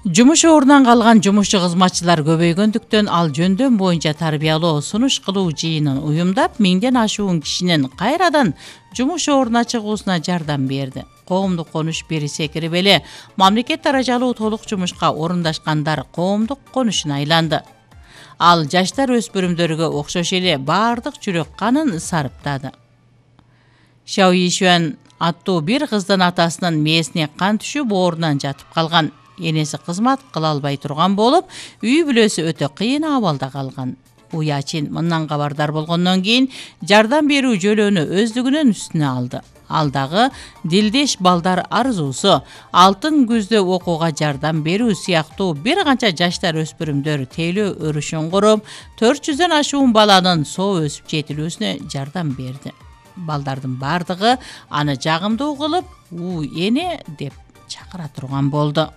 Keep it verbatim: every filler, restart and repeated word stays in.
Жумуш орунан калган жумушчу кызматчылар көбөйгөндүктөн ал жөндөм боюнча тарбиялоо, сунуш кылуу жыйынын уюмдап, миңден ашуун кишинин кайрадан жумуш ордуна чыгуусуна жардам берди. Коомдук конуш бери секирип эле мамлекет даражалуу толук жумушка орундашкандар коомдук конушуна айланды. Ал жаштар өспүрүмдөргө окшош эле баардык жүрөк канын сарыптады. Шао Йишуан аттуу бир кыздын атасынын мээсине кан түшүп ордунан жатып калган. Энеси кызмат кыла албай турган болуп, үй бүлөсү өтө кыйын абалда калган. Уячин мындан кабардар болгондон кийин жардам берүү жөлөнү өздүгүнүн үстүнө алды. Ал дагы дилдеш балдар арзуусу, алтын күздө окууга жардам берүү сыяктуу бир канча жаштар өспүрүмдөр тейлөө өрүшүн куруп, төрт жүздөн ашуун баланын соо өсүп жетилүүсүнө жардам берди. Балдардын бардыгы аны жагымдуу кылып, "У эне" деп чакыра турган болду.